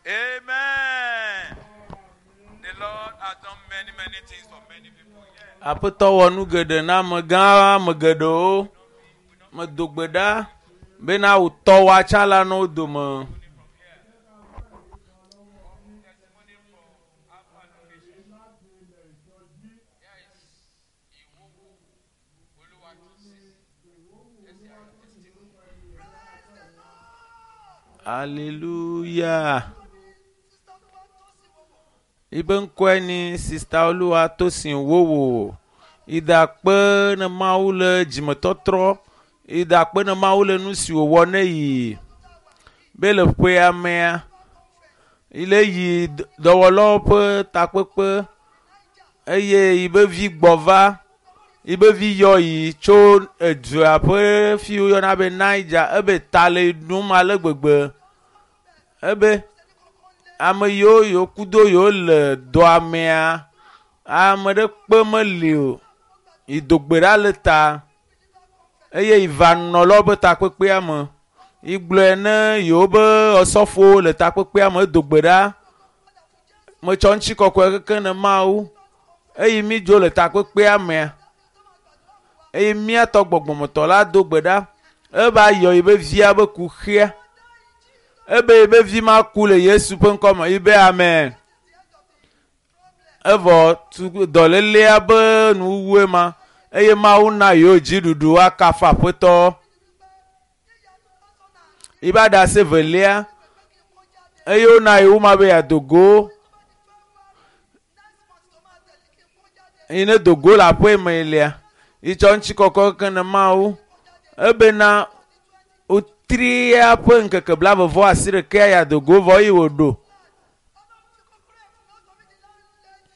Amen. The Lord has done many, many things for many people. Yeah. Aƒetɔ wɔ nu geɖe na amegã ame geɖewo. Medo gbe ɖa bena wòtɔ woatsã la nɔ wo dome. Testimony from Alpha Location. Here is Iwowo Oluwatosin. Let's hear your testimony. Hallelujah. Ibe ŋkɔe ni Sista Oluwatosin Wowo. Ida kpe ne Mawu le dzimetɔtrɔ. Ida kpe ne Mawu le nu si wòwɔ ne yi. Be le ƒea mea, ile yi dɔwɔlawo ƒe takpekpe eye yibe vi gbɔ va. Yibe vi yɔ yi tso edua ƒe fi woyɔna be Niger ebe ta le ɖum ale gbegbe. Ebe ame yiwo yiwo kudo yiwo le dɔa mea, ame ɖe kpe meli o. Yi do gbe ɖa le ta eye yi va nɔlawo ƒe takpekpea me. Yi gblɔe ne yewo be osɔfowo le takpekpea me edo gbe ɖa. Metsɔ ŋutikɔkɔe keke ne Mawu eye mi dzo le takpekpea mea. Eye míatɔ gbɔgbɔmetɔ la do gbe ɖa. Eva yɔ yibe via be kuxia. Ebe yibe vi ma ku le Yesu ƒe ŋkɔme. Yibe amen. Evɔ tu dɔlélea be nuwuwue ma eye Mawu na yewo dziɖuɖu woakafu Aƒetɔ. Yibe aɖase velia eye wona yewo ma be yeado go. Yi ne do go le aƒe me lia, yitsɔ ŋutikɔkɔ ke ne Mawu. Ebena wotria ƒe ŋkeke 28 ya do go vɔ eye wòɖo.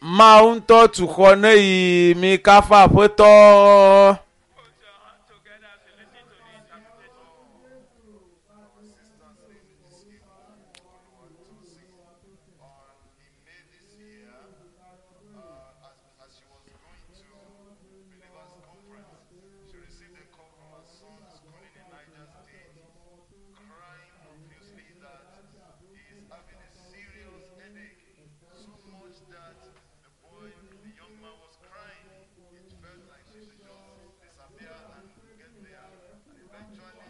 Mawu ŋutɔ tu xɔ ne yi mi kafu Aƒetɔ. Put your hand together as you listen to the interpretation. Our sister's name is Iwo Oluwatosin. In May this year, as she was going to Believers Conference, she received a call from her son schooling in Niger State, crying profusely that he is having a serious headache, so much that the boy, the young man was crying. It felt like she should just disappear and get there. And eventually,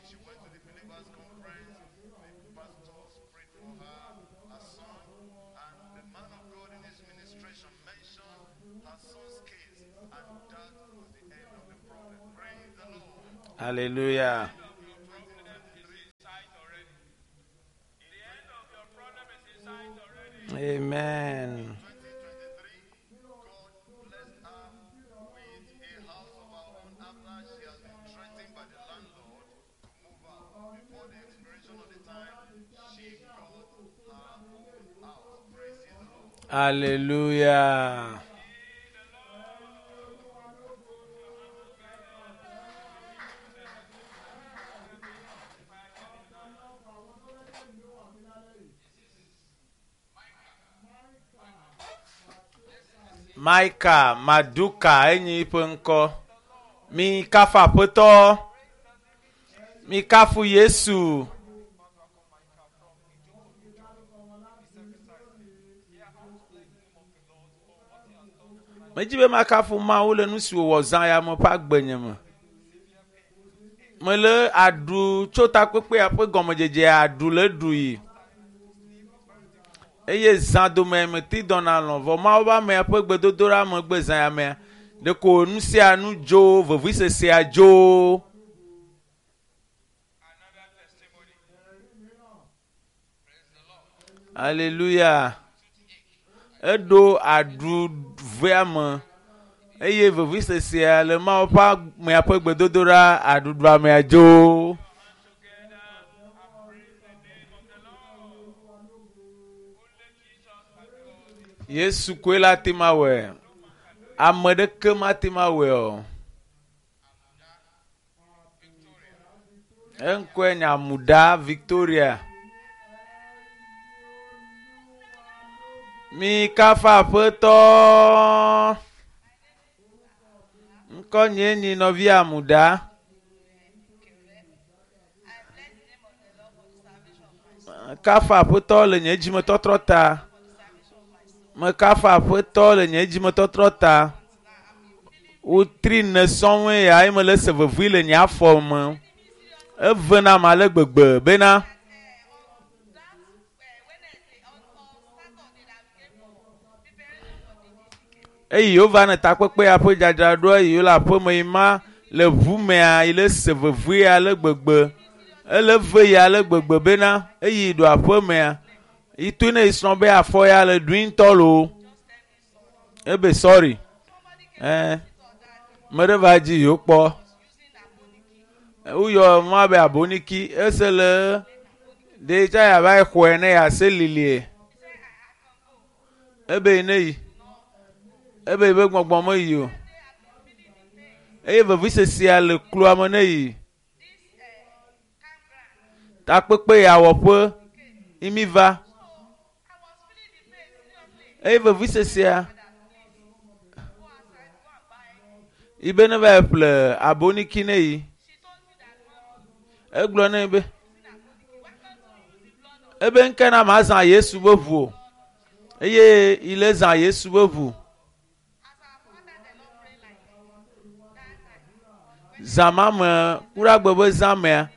she went to the Believers Conference. The pastors prayed for her, her son, and the man of God in his ministration mentioned her son's case, and that was the end of the problem. Praise the Lord. Hallelujah. Of your problem is in sight already. The end of your problem is in sight already. Amen. 2023, God blessed her with a house of her own after she has been threatened by the landlord to move out. Before the expiration of the time, she got her own house. Praise ye the Lord. Hallelujah. Micah Maduka enyi ƒe ŋkɔ. Mi kafu Aƒetɔ. Mi kafu Yesu. Medzi be makafu Mawu le nu si wòwɔ zã ya me ƒe agbenye me. Mele aɖu tso takpekpea ƒe gɔmedzedze aɖu le ɖu yi. Eye zã dome meti dɔna lɔ̃ vɔ Mawu ƒe amea ƒe gbedodoɖa megbe zã ya mea ɖeko nu sia nu dzo vevisesea dzo. Another testimony. Praise the Lord. Hallelujah. Eɖo aɖu vea me eye vevisesea le Mawu ƒe amea ƒe gbedodoɖa aɖuɖua mea dzo. Together and praise the name of the Lord. Only Jesus can do all this. Yesu koe la te ma wɔe. Ame ɖeke mate ma wɔe o. Eŋkɔe nye Amuda Victoria. Mi kafu Aƒetɔ. Ŋkɔ nye nyi nɔvi Amuda. Kafa aƒetɔ le nye dzimetɔtrɔ ta. Mekafa aƒetɔ le nye dzimetɔtrɔ ta. Wotri ne sɔŋue ya eye mele se vevui le nye afɔ me. Eve nam ale gbegbe bena eyi wova ne takpekpe ya ƒe dzadzraɖoa yi wole aƒeme yi ma le ʋu mea yi le se vevui ale gbegbe. Ele ve yi ale gbegbe bena eyi ɖo aƒemea yi to ne yi srɔ̃ be afɔ ya le ɖui ŋutɔ loo. Ebe sɔri. Ɛɛ me ɖe va dzi yewo kpɔ. Woyɔ nua be aboniki ese le ɖe tsa yava yi xɔe ne yease lilie. Ebe ne yi. Ebe yi be gbɔgbɔ me yi o. Eye vevisesia le kloa me ne yi. Takpekpe ya wɔƒe imi va. Eye vevisesia yi be ne va yi ƒle aboniki ne yi. Egblɔ nɛ be ebe ŋke na ma zã Yesu be ʋu o. Eye yi le zã Yesu be ʋu. Zã ma me kuɖagbe be zã mea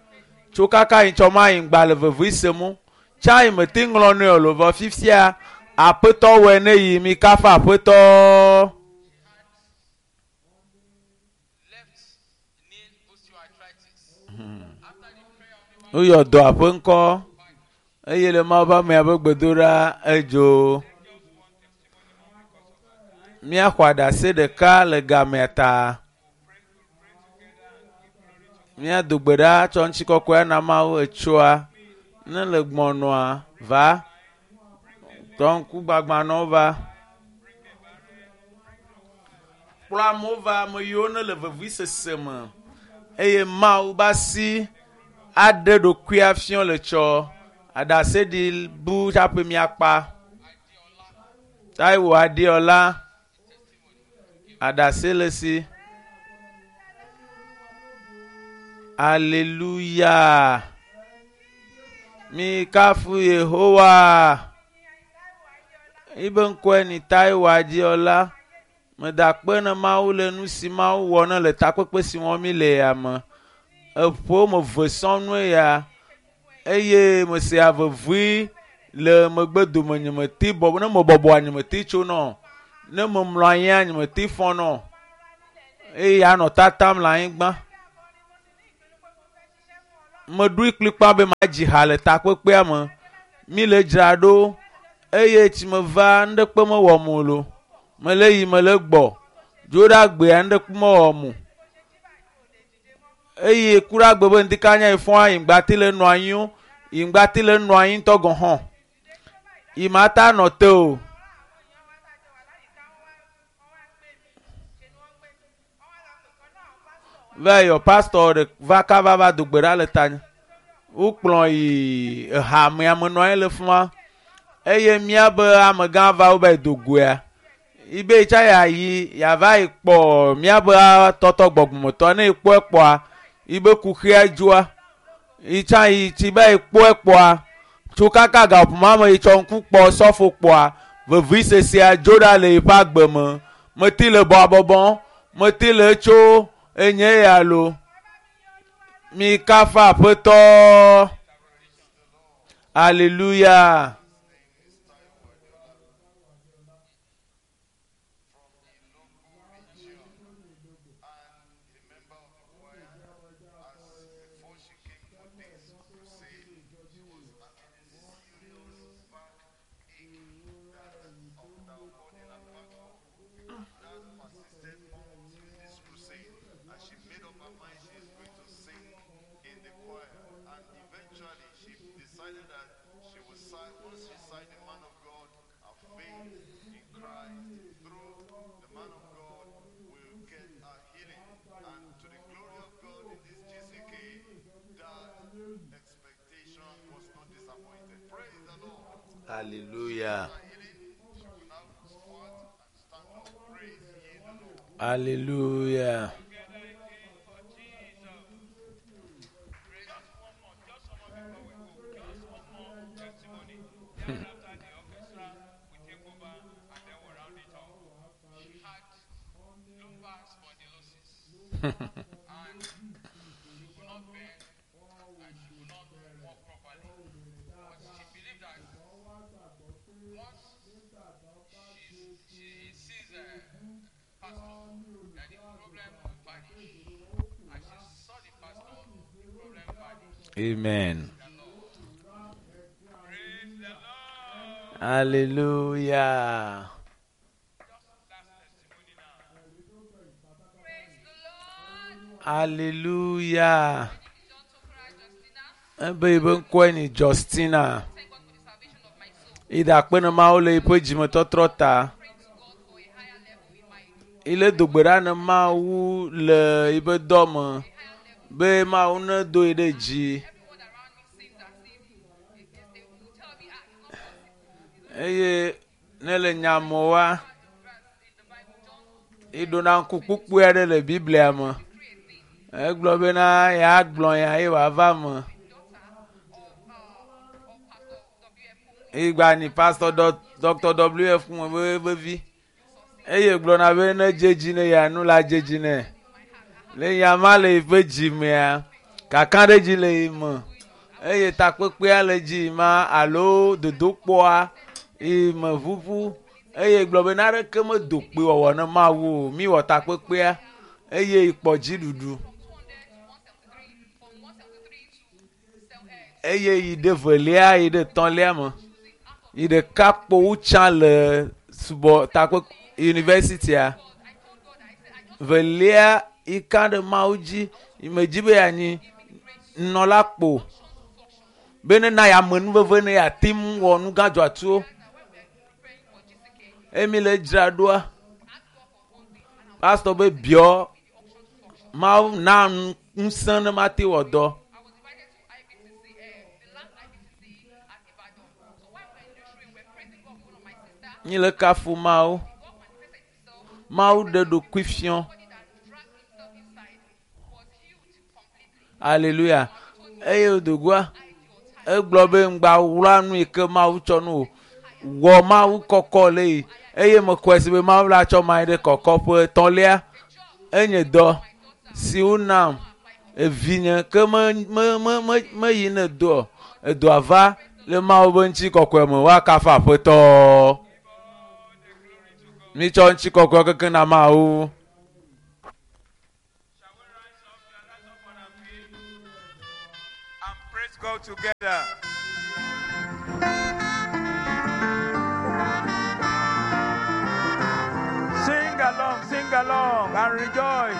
tso kaka yi tsɔ ma yi ŋgba le vevui sem o. Tsa yi mete ŋlɔ nɛ o lo vɔ fifia aƒetɔ wɔe ne yi mi kafa aƒetɔ. Left knee osteoarthritis. After the prayer of the Woyɔ dɔ aƒe ŋkɔ eye le Mawu ƒe amea ƒe gbedoɖa edzo. Míaxɔ aɖase ɖeka le gamea ta. Míado gbe ɖa tsɔ ŋutikɔkɔe na Mawu etsoa ne le gbɔnɔa va tɔ ŋku gbagbãnɔwo va. Kplɔ amewo va ame yiwo ne le vevisese me eye Mawu be asi aɖe ɖokuia fiɔ le tsɔ aɖase ɖi bu tsaƒe miakpa. Taiwo Adeola aɖase le si. Aleluya. Mi kafu Yehowa. Ibe ŋkɔe ni Taiwo Adeola. Meda akpe ne Mawu le nu si Mawu wɔ ne le takpekpe si wɔm mi le ya me. Eƒo me ve sɔŋue ya eye mesea vevui le megbe dome nye mete bɔbɔ ne mebɔbɔa nye mete tsonɔ ne memlɔ anyia nye mete fɔnɔ eye anɔ tatam le anyigba. Meɖoe kplikpa be madzi ha le takpekpea me. Mi le dzra ɖo eye tsi meva nuɖekpe mewɔm o lo. Mele yi mele gbɔ. Dzo ɖe agbea nuɖekpe mewɔm o. Eye ku ɖe agbe be ŋdika nya yi fɔa yi ŋgba te le nɔ anyi o. Yi ŋgba te le nɔ anyi ŋutɔ gɔ̃ hã. Yi ma ta nɔ te o. Va yɔ pastor ɖe va kava va do gbe ɖa le tanye. Wokplɔ yi ehamea me nɔ anyi le fi ma eye míabe amegã va wo va yi do goea. Ibe tsa yeayi yeava yi kpɔ míabe tɔtɔ gbɔgbɔmetɔ ne ekpɔe kpɔa ibe kuxia dzoa. Yi tsa yi tsi va yi kpɔe kpɔa tso kaka gaƒoƒo me yi tsɔ ŋku kpɔ sɔfo kpɔa vevisesea dzo ɖa le yiƒe agbe me. Mete le bɔbɔbɔm, mete le tso enye ya lo. Mi kafa aƒetɔ. Aleluya. From the local region and a member of the choir. As before she came for this crusade, she was having a serious back ache that of that occurred in her backbone. That persisted until this crusade, and she made up her mind she is going to sing in the choir. And eventually, she decided that she would side. Once she signed the man of God, her faith in Christ through the man of God will get her healing. And to the glory of God in this GCK, that expectation was not disappointed. Praise the Lord. Hallelujah. Her healing, she will now squat and stand up. Praise ye the Lord. Hallelujah. Together again for Jesus. Just one more, just one more before we go. Just one more. Thereafter, the orchestra will take over and then we'll round it up. She had lumbar spondylosis and she could not bend and she could not walk properly. But she believed that once she sees a pastor, that the problem will vanish. And she saw the pastor, the problem vanished. Amen. The Lord. Praise the Lord. Hallelujah. Just last testimony now. Praise the Lord. Hallelujah. My name is John Tokra Justina. Ebe yibe ŋkɔe ni Justina. Thank God for the salvation of my soul. Ida akpe ne Mawu le yiƒe dzimetɔtrɔ ta. Praying to God for a higher level in my Ile dogbe ɖa ne Mawu le yiƒe dɔ me a higher level. be Mawu ne do yi ɖe dzi. Everyone around me seems as if they will tell me, ah, it's not possible. It's Eye ne le nyamewoa, not the verse in the Bible. John iɖona ŋku kpukpui aɖe le Biblia me. decree a thing. Egblɔ bena yeagblɔ nya ye wòava me. Daughter of Pastor W.F. Kumuyi. Igba ni Pastor Dr. W.F. Kumuyi be vi. Eye gblɔna be ne dze dzi ne ya nu la dze dzi nɛ. Le nya ma le yiƒe dzi mea, kakaɖedzi le yi me. Eye takpekpea le dzi ma alo dodokpɔa yi me ʋuʋu. Eye gblɔ be naɖeke medo kpe wɔwɔ ne Mawu o. Mi wɔ takpekpea eye yi kpɔ dziɖuɖu. From 200 to 173, from 173 to Eye yi ɖe velia yi ɖe tɔ̃lia me. choosing out of Yi ɖeka kpo wu tsã le subɔ takpe yunivɛsitia. God. I told God, I said, I just Velia yi ka ɖe Mawu dzi yi me dzi be yeanyi nunɔla kpo to function. be ne na ya amenuveve ne yeate ŋu wɔ nu gã dzɔatsuwo. Now, when we are preparing for GCK, Eye mi le dzra ɖoa, ask God for one thing, and I pastor be biɔ will be the option to function. Mawu na nu ŋusẽ ne mate wɔ dɔ. I was invited to IBTC, the last IBTC at Ibadan. So while we were in the train, we were praising God with one of my sisters. Mi le kafu Mawu. God manifested himself. Mawu ɖe ɖokui fiɔ. Somebody that dragged himself inside was healed completely. Alléluia. Eye wodogoa egblɔ be ŋgba wla nu yi ke Mawu tsɔ nu o. Wɔ Mawu kɔkɔ le yi. Eye mekɔe si be Mawu la tsɔ ma yi ɖe kɔkɔƒe etɔ̃lia. Enye dɔ si wonam evinye ke me me me me meyi ne doɔ. Edoa va le Mawu be ŋutikɔkɔe me woakafu Aƒetɔ. Mitsɔ ŋutikɔkɔe keke na Mawu. Shall we rise up? We are rise up on our feet and praise God together. Sing along, sing along, and rejoice.